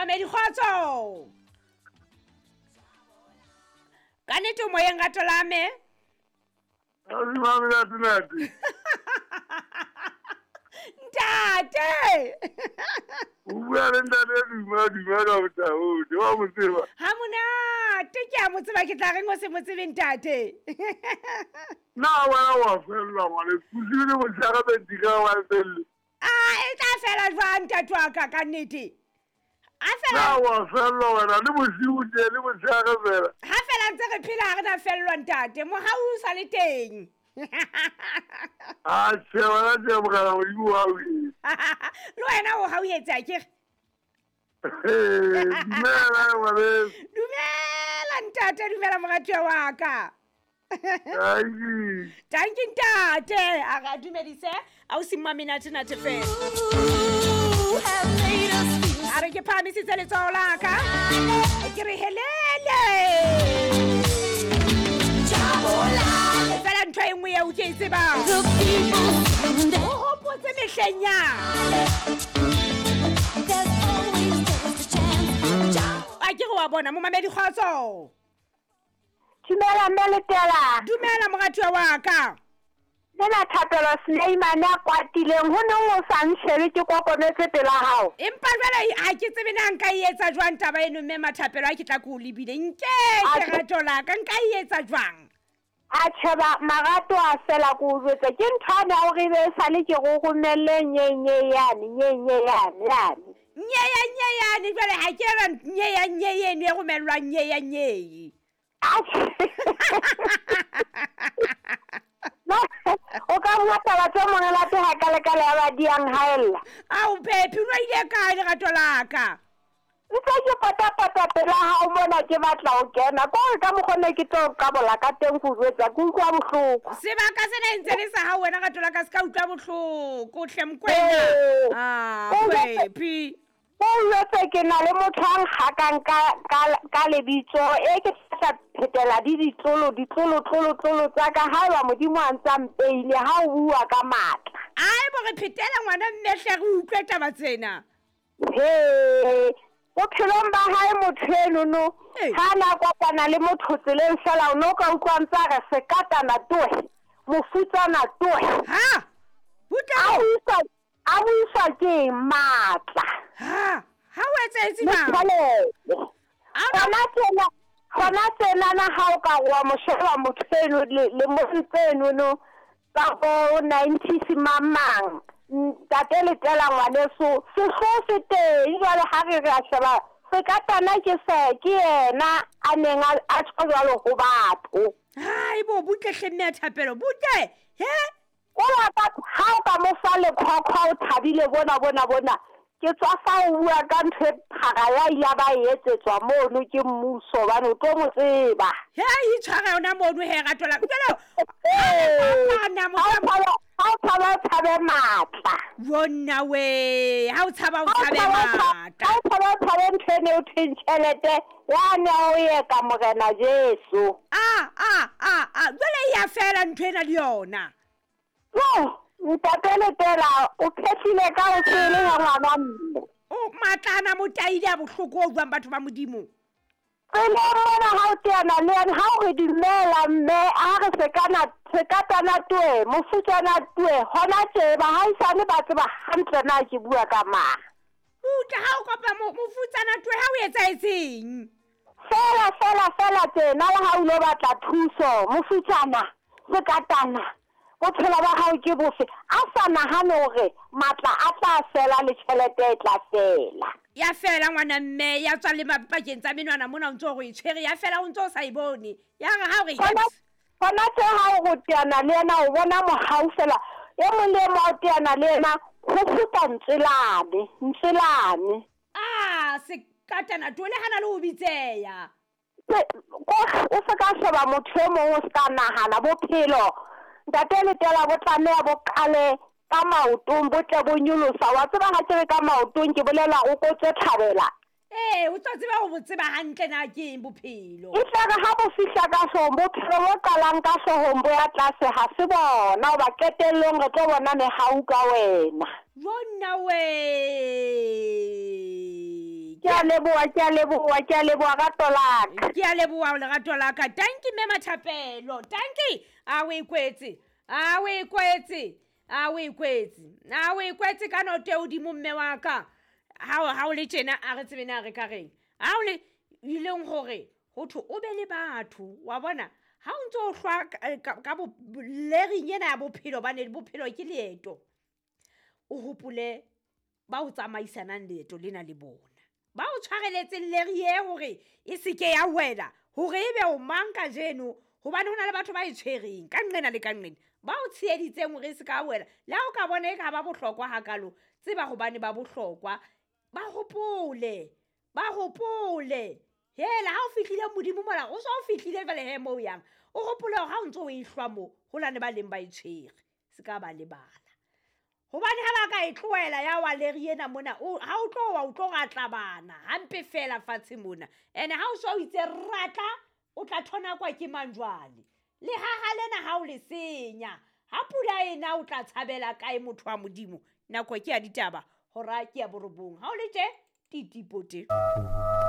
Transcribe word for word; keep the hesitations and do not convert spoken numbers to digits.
Momamedi kgotso. Ka nnete o moyeng rato la me? Ntate. O bua le ntate Duma Duma ka botaote wa mo tseba. Ha monate ke a mo tseba ke tla reng o se mo tsebe ntate. Na wena wa fellwa ngwane kusile motshehare bentika wa felle. Ah e tla fela jwang ntate wa ka ka nnete? A fela. Na wa fellwa wena le bosiu tje le motshehare fela. Ha fela ntse re phela ha re na fellwa ntate mohau o sa le teng. Ah tjhe wena tje morena Modimo wa o Le wena o hauhetse akere? Dumela ngwaneso. Dumela ntate, dumela moratuwa wa ka. Dankie. Dankie ntate. A re dumedise ausi Mmamenate nate fela. A re ke phahamisitse letsoho la ka. Ke re helele. Fela ntho e nngwe eo ke e tsebang. O hopotse mehleng ya. A ke re wa bona momamedi kgotso. Dumela mme Letela. Dumela moratuwa wa ka. Nna Thapelo Sleiman a kwatileng ho neng o sa nshebe ke kokometse pela hao. Empa jwale ha ke tsebe na nka e etsa jwang taba eno mme Mathapelo a ke tla ko o lebile. Nke ke rato la ka nka e etsa jwang? A tjheba marato a fela ko o jwetsa ke ntho ane ya hore ebe sale ke go romelle nyenye yane nyenye yane yane. Nyeya nyeyane jwale ha ke ra nyeya nyeye eno e romellwa nyeya nyeye. O ka bua taba tse monate ha ka le ka le ba diang haella. Ao Phephi o ile kae lerato la ka? Ntse ke patapata pela hao mona ke batla ho kena. Ko re ka mokgwa ne ke tlo qabola ka teng go jwetsa ke utlwa bohloko. Sebaka sena e ntse le sa hao wena rato la ka se ka utlwa bohloko hle Mokwena. Ah Phephi. O jwetse ke na le motho a nkgakang ka ka ka lebitso e ke tla phetela di ditlolo ditlolo tlolo tlolo tsa ka haeba Modimo a ntsa mpeile ha o bua ka matla. Ai bo re phetela ngwana mme hle re utlwe taba tsena. He bophelong ba hae motho eno no ha na kopana le motho tseleng fela o no ka utlwa ntsa re sekatana toe mofutsana toe. Ha butle a buiswa ke matla. Ha ha o etsetse mang? Hona tsena hona tsena na ha o ka wa mo sheba motho eno le mo tseno no tsa bo nineties mamang ntate Letela ngwaneso sehlo se teng jwale ha re re a sheba sekatana ke se ke yena a neng a tjho jwalo ho batho. Hai bo butle hle mme Thapelo butle he. O ka ha o ka mo fa lekhokho o thabile bona bona bona ke tswa fa o bua ka ntho e phara ya ile ba e etsetswa mono ke mmuso hobane o tlo mo tseba. He itshwara yona mono he rato la jwale ha o tshaba o tshabe matla. Bona we ha o tshaba o tshabe matla. Ha o tshaba o tshabe ntho ene o thweng tjhelete ya ne o ye ka Morena Jesu. Ah ah ah ah jwale ya fela ntho ena le yona. No, ntate Letela o phehlile ka o sele ya ngwana mme. O matlana motaile a bohloko o jwang batho ba Modimo. Tseleng mona ha o teana le yena ha o re dumela mme a re sekana sekatana toe mofutsana toe hona tseba ha isane ba tseba hantle na ke bua ka mang. Utlwa ha o kopa mofutsana toe ha o etsahetseng? Fela fela fela tsena le ha o lo batla thuso mofutsana sekatana bophelo ba hao ke bofe a sa nahane hore matla a tla fela le tjhelete e tla fela. Ya fela ngwana mme ya tswa le mapakeng tsa menwana mona o ntso go e tshwere ya fela o ntso o sa e bone ya re ha o re hona tse ha o go teana le yena o bona mohau fela e mong le mong o teana le yena ho kgutla ntselane ntselane. Ah sekatana toe le hana le ho bitseya. O se ka sheba motho e mong o se ka nahana bophelo ntate Letela bo tlameha bo qale ka maotong bo tle bo nyolosa wa tseba ha ke re ka maotong ke bolela o kotse thabela. Ee o tlo tseba ho bo tseba hantle na ke eng bophelo. E tla re ha bo fihla ka hloohong bophelo bo qalang ka hloohong bo ya tlase ha se bona hoba qetellong re tlo bona mehau ka wena. Bona we. Ke a a leboha, ke a leboha, ke a leboha rato la ka. Ke a leboha lerato la ka. Tanki mme Mathapelo, tanki. A o ikwetse, a o ikwetse, a o ikwetse, a o ikwetse ka noto e hodimo mme wa ka. Ha o ha o le tjena a re tsebe na re ka reng. Ha o le ileng hore ho thwe o be le batho wa bona ha o ntso o hlwa ka ka bo lering ena ya bophelo bane bophelo ke leeto. O hopole ba o tsamaisanang leeto lena le bona. Ba o tshwareletseng leri e hore e seke ya wela hore ebe o mang kajeno hobane hona le batho ba e tshwereng ka nqena le ka nqena. Ba o tsheheditseng hore e se ka wela. Le ha o ka bona e ka ba bohlokwa hakalo, tseba hobane ba bohlokwa. Ba hopole, ba hopole. Hela ha o fihlile modimo mola, o so o fihlile jwale he moo o yang. O hopole hore ha o ntso o e hlwa moo, ho na le ba leng ba e tshwere. Se ka ba lebala. Hobane ha ba ka e tlohela ya wa leri ena mona, o ha o tlo wa o tlo ratla bana hampe fela fatshe mona. Ene ha o so o itse ratla, o tla thonakwa ke mang jwale? Lehaha lena ha o le senya, ha pula ena o tla tshabela kae motho wa Modimo? Nako ke ya ditaba, hora ke ya borobong. Ha o le tje, titipote.